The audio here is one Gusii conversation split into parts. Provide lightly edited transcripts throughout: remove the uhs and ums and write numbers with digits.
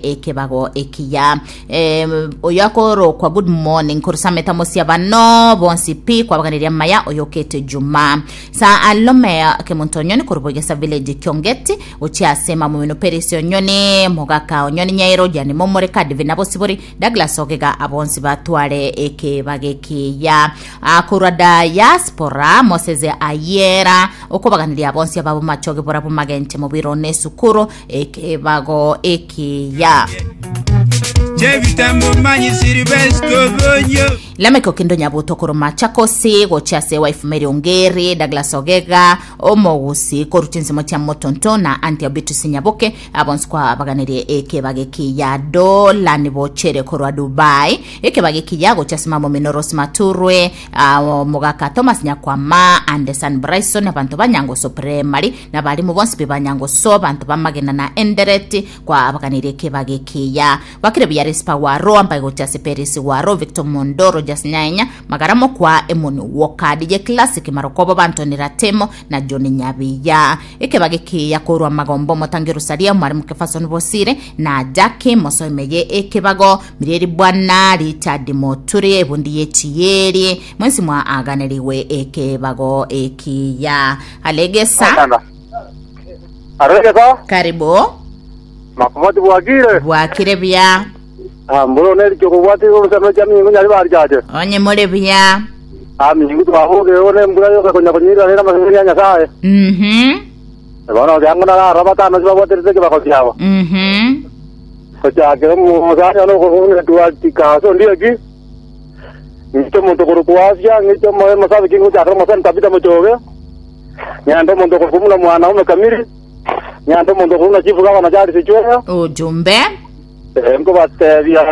Ekebago ekiya. Eh, oyo akorokwa good morning korusameta mosia bano bonsi pi kwabaganiria amaya oyo okete juma sa alome kemonto onyoni korwa Bogesa village kiongeti gochia ase mamomino perisi onyoni mogaka onyoni nyairo jani momore kadivi na bosibori Douglas ogega abonsi batware ekebago ekiya Ah, korwa diaspora Moses Ayera okobaganiria abonsi ababo machoge borabo magenche mobiro ne esukuru Ekebago ekiya. Lameck Okindo Nyabuto korwa Machakos gochia ase wife Mary Ongeri, Douglas Ogega, Omogusi korwa chinsemo chia Motonto na Auntie Beatrice Nyaboke abonsi kwa baganirie ekebago ekiya. Dolan Bochere korwa Dubai ekebago ekiya gochia ase mama omino Rose Maturwe, ah, omogaka Thomas Nyakwama, Anderson Bryson abanto ba Nyangoso Primary Nabarimo bonsi pi ba Nyangoso, abanto b'amagena na Endereti, kwabaganirie ekebago ekiya. Gwakire buya Rispa gwaro, ambae gochia ase Perisi gwaro, Victor Mondo, Rogers Nyaenya, Magara Mokwa, Emoni Walker, DJ Classic, Marokobo, Bantoni Ratemo, na John Nyabiya. Ekebago ekiya korwa Magombo, Omotangi Rosalia, Omwarimu Kefason Bosire, na Jackie Mosoimeye ekebago, Mirieri Bwana, Richard Moturi, Ebundi y'Echieri, mwensi mwaaganeriwe ekebago ekiya. Alegesa. Asana. Aregesa. Karibu. Makobati bwakire. Bwakire buya. Ah, mboro neri chokobwati orusano cha mingu nyari bari chache. Onye more buya. Ah, mingu twaboge one mbura yoka konya konyira rera maseseni ya Nyasaye. Mhm. Bono byango na raba tano sibabwaterete kibako kiabo. Mhm. Gochakera omosani one okoboka twa ndiyo ki. Ng'iche omonto okorokwa Asia, ng'iche omo- omosabiki ngochakera omosani Tabitha mochoge, ng'ende omonto okorokwa buna mwanaume Kamili, ng'ende omonto okorokwa buna chief gavana Charles Chweya, Ujumbe. eh, nkobatebia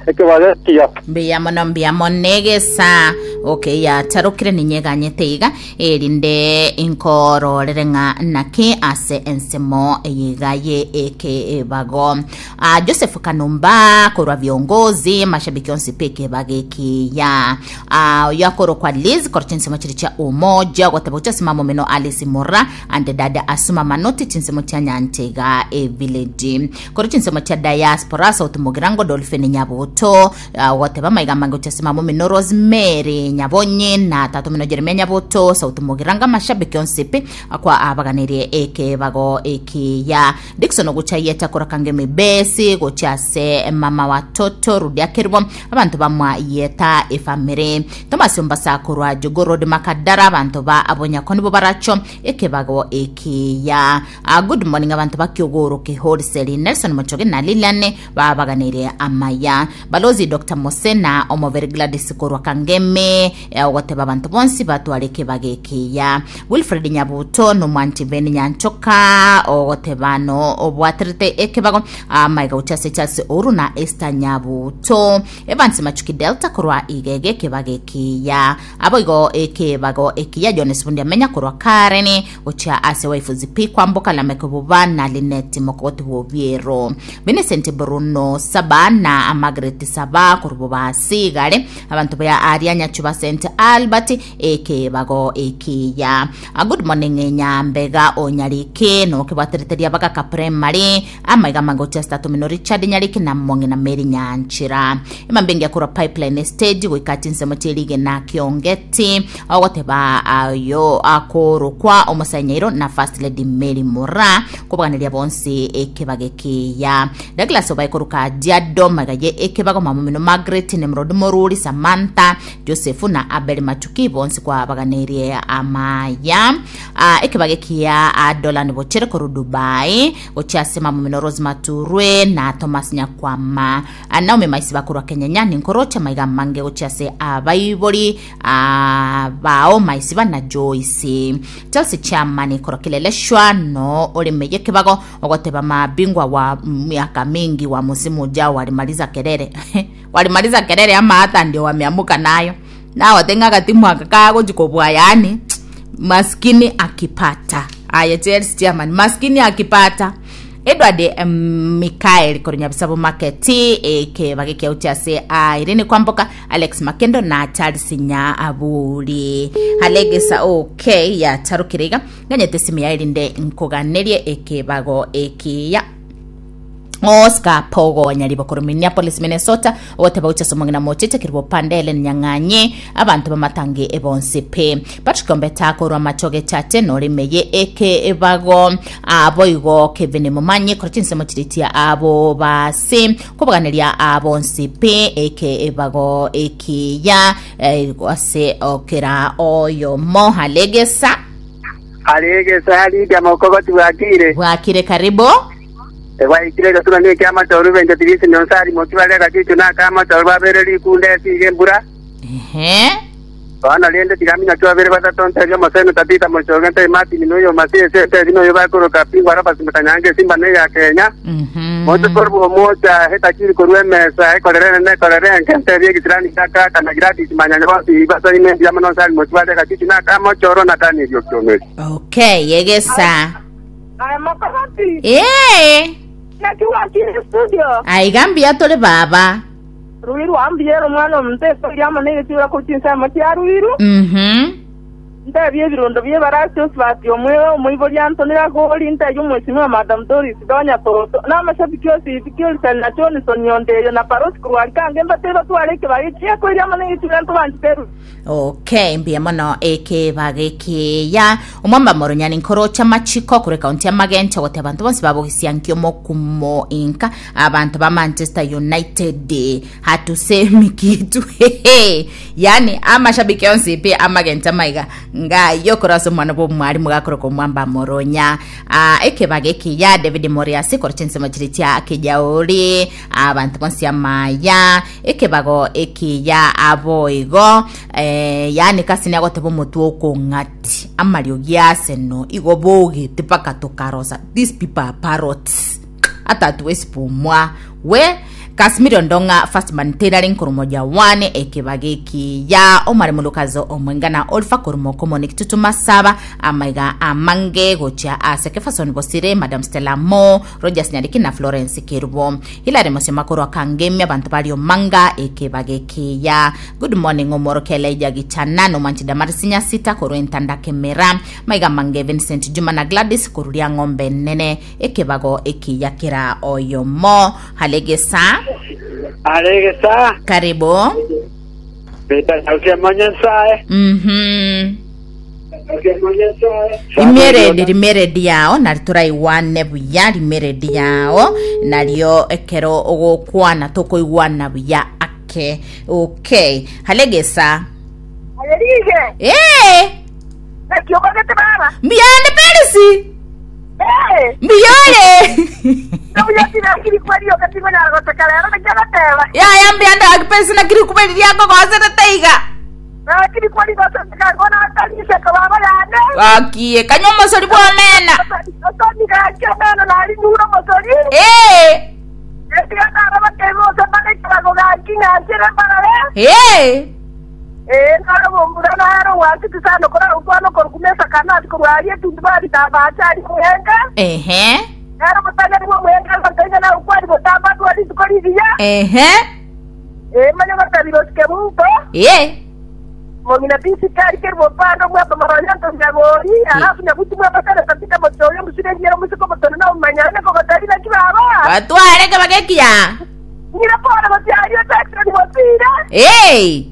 ekebago ekiya. Mbuya mono mbuya mono egesa okay yatarokire ninyeganyete iga erinde inkororere ng'a naki ase ensemo eyeiga ye ekebago Ah, Joseph Kanumba korwa viongozi mashabiki onsi peke bagekiya Ah, oyo akorokwa Liz korwa chinsemo chiri chia umoja ogoteba gochia ase mama omino Alice Mura ande dada Asuma Manoti chinsemo chia Nyantega e village korwa chinsemo chia diaspora South Mugirango Dolphin Nyabuto Ah, ogoteba maiga amange gochia ase mama omino Rosemary Nyabonyi na tata omino Jeremia Nyabuto South Mugirango amashabiki onsi pi akwa abaganirie ekebago ekiya Dickson ogochayete akorakanga emibesi gochia ase mama wa Toto Rudia Kerubo abanto bamwayeta efamiri Thomas Ombasa korwa Jogoo Road Makadara abanto ba Abonyako nibo baracho ekebago ekiya Ah, good morning abanto ba Kiogoro Kihoriseri Nelson Mochoge na Lilian babaganire amaya Balozi Dr. Mose na Omobere Gladys korwa Kangemi eh, ogoteba abanto bonsi batware ekebago ekiya Wilfred Nyabuto nomwanchi Ben Nyanchoka ogoteba no obwaterete ekebago amaiga gochia ase Charles Ouru na Esther Nyabuto Evans Machuki Delta korwa Igege ekebago ekiya aboigo ekebago ekiya Jones Bundi Amenya korwa Karen gochia ase wife Zipi Kwamboka Lameck Buba na Linet Mokogoti Bobiero Vincent Bruno Saba na Margaret Saba korwa Bobasi Igare abanto ba aria Nyachuba St Albert Ekebago ekiya. A good morning Nyambega o Nyariki nokebwaterete ria bagaka primary amaiga amange gochia ase tata omino Richard Nyariki na mong'ina Mary Nyanchira emambia engiya korwa pipeline stage goika chinsemo chie rigena Kiongeti ogoteba ayo akorokwa omosae Nyairo na first lady Mary Mura kobaganeria bonsi ekebago ekiya Douglas obae korwa Kajiado maiga ye ekebago mama omino Margaret Nimrod Moruri Samantha Josefu na Abeli Machuki bonsi kwabaganeirie amaya. Ah, ekebage kia Adolan Bochere korwa Dubai gochia ase mamomino Rose Maturwe na Thomas Nyakwama. Ah, Naomi Maisi bakorwa Kenyenya ninkoroche maiga amange gochia ase abaibori ah, bao Maisiba na Joyce. Chelsea chairman korwa Kileleshwa no oremeye kebago ogoteba mabingwa wa miaka mingi wa musimu ujao walimaliza kelele Walimaliza kelele ama hata ndio wameamuka nayo nagote ng'a agatimu aka kagochi kobua yaani maskini akipata aye Chelsea chairman maskini akipata Edward em, Mikael korwa Nyabisabo Market ekebage kiauche ase ah, Irene Kwamboka Alex Makendo na Charles Nyaburi Alegesa okay yacharokire iga nganyete simu yaye rinde nkoganerie ekebago ekiya. Oscar Pogo Nyaribo korwa Minneapolis, Minnesota, ogoteba gochia ase omong'ina mocheche Kerubo Panda Ellen Nyang'anye, abanto b'amatangi ebonsi pi. Patrick Ombeta korwa Machoge Chate nore meye ekebago aboigo Kevin Momanyi korwa chinsemo chiritia abo basi kobaganeria abonsi pi ekebago ekiya ase okera oyomo halegesa. Aregesa Lydia mokogoti bwakire. Bwakire karibu. Egwaikire egetunwa neki'amatoru, bencheti risinyo nse arimoki bare agachicho na ak'amatoru, babere rikunda esiige embura. Ehe. Bono rende tiga minyoki babere batato ntebie omosemi Tabitha mochoge, ntebie Martin na oyo Masese, ntebie noyo bakoroka Pingwa Robert Mutanyanga esimba neya Kenya. Moche korwa omocha etakiri korwa emesa ekorere enene ekorere enke, ntebie egisirani gia Kaka na Gladys Manyanya bonsi basaime mbuya mono nse arimoki bare agachicho na ak'amochoro na Daniel Okiomeri. Okay, egesa. Aye mokogoti, Ee, naki gwachire studio? aiga mbuya tore baba. Ruiru ambuyere omwana omonto esori amo negesiura korwa chinsemo chia Ruiru. Ntebie ebirondo bi'ebarasi Osibati omwegwa omoibori Anthony Ragori, ntebie omwesimwa Madam Doris Donya Toto, na amashabiki onsi Ezekiel na Johnson Ondeyo na Parosi korwa Arikange mbatebie batware ekebago ekiya amo negesiura ntobanchete Ruiru. Okay, mbuya mono ekebago ekiya. Omwamba moronyani nkorocha machiko korwa ekaunti ya Magencho gote abanto bonsi babogisia nkio mokumo inka abanto ba Manchester United hatusemi kitu yani amashabiki onsi pi amagencho amaiga ngayo korwa ase omwana bwa omwarimu gakoroka omwamba moronya. Ah, ekebago ekiya David Moriasi korwa chinsemo chiri chia Kijauri abanto bonsi amaya ekebago ekiya aboigo eh, yani kasini agoteba omotwe okong'ati amariogi aseno igo bogete mpaka tokarosa these people are parrots atatuwesi pumwa we Casimiro Ndong'a First Man Taylor nkoromoja 1 ekebago ekiya omare molukazo omwengana Oliver koromoko Monique Tutuma Saba amaiga amange gochia ase Kefason Bosire Madam Stella Mo Rogers Nyariki na Florence Kerubo Hilary Mosema korwa Kangemi abantu bari omanga ekebago ekiya good morning omorokia Elijah Gichana nomwanchi Damaris Nyasita korwa entanda Kemera maiga mange Vincent Juma na Gladys koruria ng'ombe nene ekebago ekiya kera oyomo halegesa Aregesa, karibu Peter Sautia Manyansae. Rimeredi rimeredi yao nari turaiwane buya rimeredi yao nario ekero ogokwana tokoigwana buya ake okay halegesa Ayerige, ee naki okogete baba? mbiyande perisi Eh, mbiyore ndobuya kweri okatigwa na goteka rero naki agateba. yaya mbiyande akiperisi nakiri kuberiria akogosete iga Nakiri kweri goteka ngona atariseka baba yane. akie kanywa omosori bwomena Otonigakia meno nari nura mosori. ee Etigatara bakebe osembaga gaki ng'anchere mbarare. ee Eh, naro bombura naro wasiti sana kora utwano korukumesa kana ati kurwaria tundu bari tabacha ari muhenga. ehe Naro mutanya ni muhenga mutanya na ukwari botamba twari tukoriria. ehe Eh, manya batabiro sikemuto. ee Mongina pisi kari keri bopando mwapa maronyanto nyagori alafu nyabuti mwapa sana tapita motoyo musire nyero musiko motono na umanyane kokotari na kibaba. batware kebagekia Nyira pora batiario taxi ni mopira. ee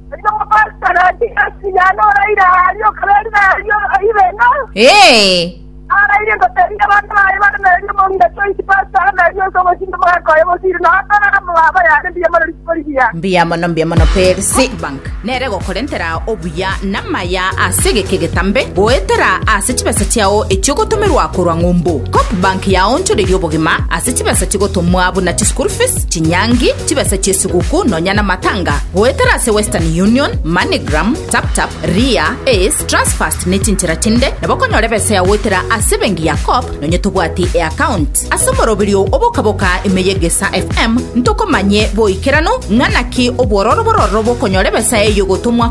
Ndio mapasta na asinyano raira ario kaberi na ario ibeno. ee Araire ngoteria bandu baye bana na rio mongina choice pasta na rio somo sinto mwako yo siri na hata na baba ya ndiye mara likoriya. mbuya mono mbuya mono perisi bank nere gokorentera obuya namaya ase geke getambe goetera ase chibesa chiao echiogotomerwa korwa ng'umbu cop bank yaonchoreria obogima ase chibesa chigotomwa buna chischool fees chinyangi chibesa chiesiguku nonya na matanga goetera ase western union moneygram taptap ria ace transfast ne chinchera chinde nabo okonyora ebesa yagoetera ase bengi ya cop nonye tobwati eaccount ase omoroberio obokaboka emeyegesa fm ntokomanye boikerano ng'anaki obwororo bororo bokonyora ebesa eyo gotomwa.